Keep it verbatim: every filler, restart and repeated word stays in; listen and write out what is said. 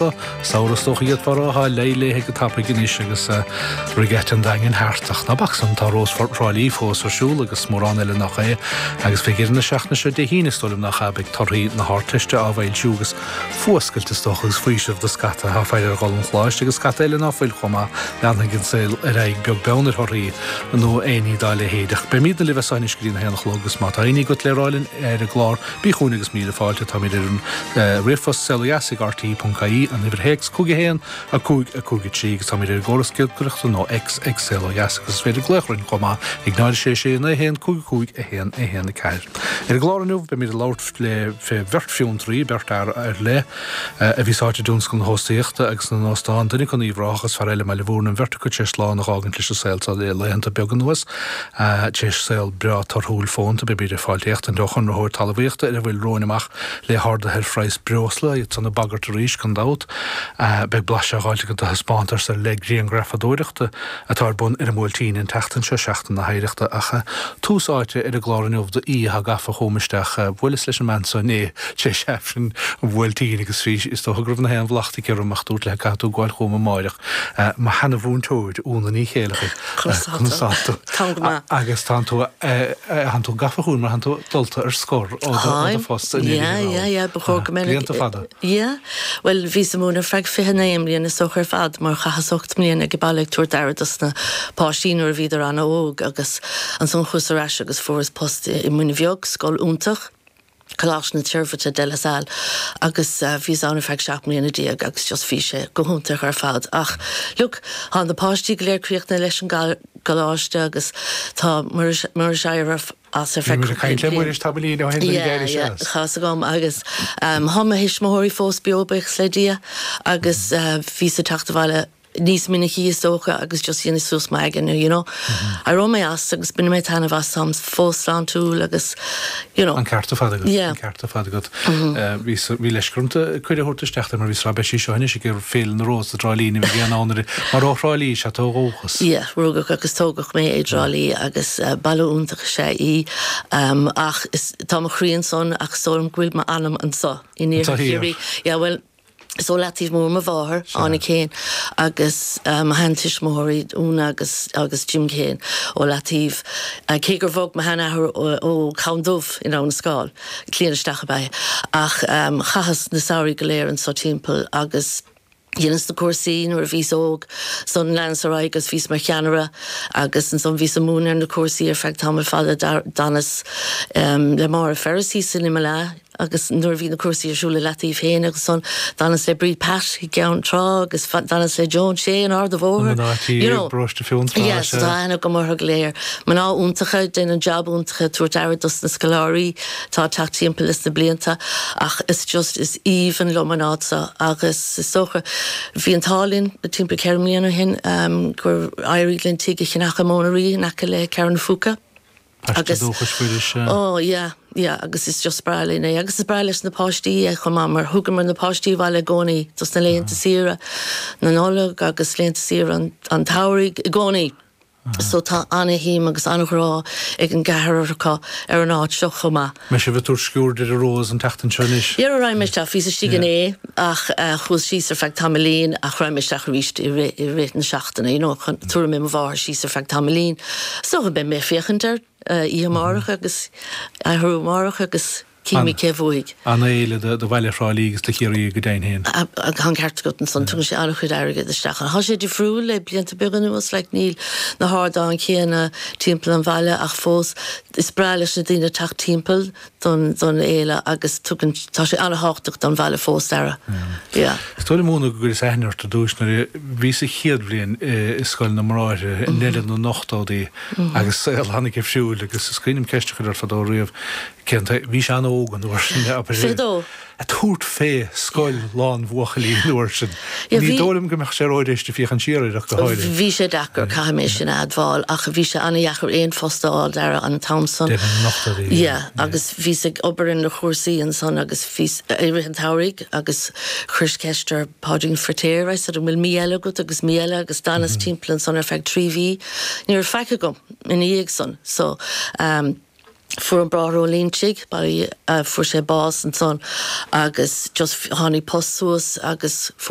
Samhradh is dócha iad fara thá léi go tapaidh anois agus Regatta an Daingin thart ach ná bac san tá Rós Thrá Lí fós ar siúl agus mórán eile nach é agus fé dheireadh na seachtaine seo Dé hAoine is dóigh liom nach ea beidh torthaí na hArdteiste á bhfoilsiú agus fuascailt is dócha agus faoiseamh do scata atá faire ar dhul an choláiste agus scata eile ná fuil chomh maith leanfaidh an saol ar aghaidh beag beann ar thorthaí nó aon ní dá leithéid ach beimid libh as anois go dtí a haon a chlog agus má tá aon ní agat le rá linn ar an gclár bí chugainn agus míle fáilte táimid ar an ríomhphost saolodheas ag rte.ie an uimhir théacs cúig a haon a cúig a cúig a trí agus táimid ar an gcóras giolcaireachta nó X ag Saol Ó Dheas agus is féidir glaoch orainn chomh maith ag náid sé sé naoi haon cúig cúig a haon a haon a ceathair. Ar an gclár inniu beimid ag labhairt le fé bheirt fiontraí beirt fhear ar leith a bhí sáite i dtionscal na hóstaíochta agus na n-óstán duine acu in Uíbh Ráthach agus fear eile i mBaile Bhúirne an bheirt acu tar éis slán a dh'fhágaint leis an saol seo le laethanta beaga anuas tar éis saol breá torthúil fónta beimid ag fáil téachtaint ó chonraitheoir talmhaíochta ar a bhfuil romhainn amach le harduithe ar phraghas breosla iad san ag bagairt arís gan dabht. Beidh blaiseadh á fháilt agat de thaispeántas ar leith grianghrafadóireachta atá ar bun ar an mBuailtín an tseachtain seo, Seachtain na hOidhreachta, ach tús áite ar an gclár inniu d'aoi atá gafa chugam isteach. Bhuaileas leis an mbean seo inné tar éis Aifreann an Bhuailtín agus bhí is dócha go raibh na haon bhlacht aici orm ach dúirt léi caithfidh tú gabháil chugam amáireach. Mo sheana-mhúinteoir, Úna Ní Chéilleachair. Conas tá tú? Táim go maith. Agus tánn tú tánn tú gafa chugam mar tánn tú dulta ar scor ó do phost in Yeah, yeah, yeah, ba chóir go mbeinn Blianta fada. Yeah. Well bhíos ag múineadh ar feadh fiche naoi mbliana is dócha ar fad mar chaitheas ocht mbliana ag baile ag tabhairt aire dos na páistí nuair a bhíodar an-óg agus ansan chuas ar ais agus fuaireas post i Muine Bheag, scoil iontach, Coláiste na Toirbhirte De La Salle agus bhíos ann ar feadh seacht mbliana déag agus just bhí sé go hiontach ar fad ach look tá na páistí go léir críochnaithe leis an gcoláiste agus tá Muiris Muiris éirithe as ar Bhí feadh muid ag caint le Muiris tamaillín ó shin nuair a d'éirigh sé as. Tá a fhios agam agus tá mo thuismitheoirí fós beo buíochas le Dia agus bhíos ag teacht abhaile níos minicí is dócha agus just dhéanas suas m'aigne you know. Éireoidh mé as agus bainfidh mé taitneamh as táim fós sláintiúil agus you know. An ceart ar fad agat, Yeah. an ceart ar fad agat. Bhí bhí leisce orm cuireadh a thabhairt isteach mar bhí sra beidh sí seo anois ag Féile na Rós i dTrá Lí ní bheidh aon ann mar ó Thrá Lí is ea tú ó dhúchas. Yeah, rugadh agus tógadh mé i dTrá Lí agus baile iontach is ea í ach is tá mo chroí ansan ach is dóigh liom go bhfuil m'anam anseo in Anseo iarthar thiar. Chiarraí. Yeah, well is ó Leataobh Mór mo mháthair, Áine Keane, agus mo sheantuismitheoirí Úna agus agus Jim Keane ó Leataobh. Cé gur bhog mo sheanathair ó Chabhán Dubh in Abhainn an Scáil, cliath isteach ab ea é, ach chaitheas na samhraí go léir anso timpeall agus dheineas na cúrsaí nuair a bhíos óg, ansan leanas ar aghaidh agus bhíos mar cheannaire agus ansan bhíos ag múineadh ar na cúrsaí ar feadh tamall fada, d'fhanas le Máire Ferris thíos in Imeall Aithe agus nuair a bhí na cúrsaí ar siúl i Leataobh féin agus ansan d'fhanas le Bríd Pat i gCeann Trá agus d'fhanas le Joan Shea in Ard a' Na Bhóthair, mná tí you i know. bparóiste Fionntrá, Yeah, so sea. tá aithne agam orthu go léir. Mná iontacha, déanann jab iontach ag tabhairt aire dos na scoláirí atá ag teacht timpeall leis na blianta ach is just is aoibhinn liom an áit seo agus is dócha bhí an t-ádh linn timpeall ceithre mbliana ó shin gur éirigh linn tigh a cheannach i Móna Rí in aice le Ceathrú na Phúca Paiste agus dúchais Mhuiris, sea. oh yeah yeah agus is just breá linn é agus is breá leis na páistí é chomh maith mar thugamar na páistí abhaile i gcónaí dos na laethanta saoire na Nollag agus laethanta saoire an an tsamhraidh i gcónaí. So tá ana-shuim agus ana-ghrá ag an gceathrar acu ar an áit seo chomh maith. Mbeidh sibh ag tabhairt sciuird ar an Rós an tseachtain seo anois? Yeah, raghaidh mé isteach. Bhíos istigh inné ach chuas síos ar feadh tamaillín ach raghaidh mé isteach arís i rith i rith na seachtaine, you know, chun tabharfaidh mé mo mháthair síos ar feadh tamaillín. So beidh mé ag féachaint air oíche amárach agus athrú amárach agus Cífimid cé a bhuafaidh. An-fhéile do bhaile Thrá Lí agus do Chiarraí go deimhin féin. Tá an ceart agat ansan. Tugann sé an-chuid airgid isteach. Tá sé difriúil le blianta beaga anuas, like níl na hardáin chéanna timpeall an bhaile ach fós is breá leis na daoine teacht timpeall don don fhéile agus tugann, tá sé an-thábhachtach don bhaile fós, Dara. Yeah. Is dóigh liom, Úna, go gcuireas aithne ort ar dtús nuair a bhís sa chéad bhliain i Scoil na mBráithre i ndeireadh na n-ochtóidí agus saol an-difriúil agus is cuimhin liom ceist a chur ort fadó riamh, Cén t-, bhís an-óg an uair sin, abair. Fiche dó. Ag tabhairt fé scoil lán bhuachaillí an uair sin. Yeah, Ní bhí. dóigh liom go mbeadh sé ródheis féachaint siar air ach go háirithe. Bhí sé deacair, caithfidh mé sin a admháil, ach bhí sé an-dheacair aon phost a fháil, Dara, an t-am san. Deireadh na n-ochtóidí, Yeah, yeah. agus bhíos ag obair ar na chúrsaí ansan agus bhíos i rith an tsamhraidh agus chuireas ceist ar Páidín Feiritéar, I said, an bhfuil mí eile agat agus mí eile agus d'fhanas timpeall ansan ar feadh trí mhí. Ní raibh faic agam ina dhiaidh san, so, um, Fuair an Bráthair Ó Loingsigh fuair sé bás ansan agus just tháinig post suas agus fuair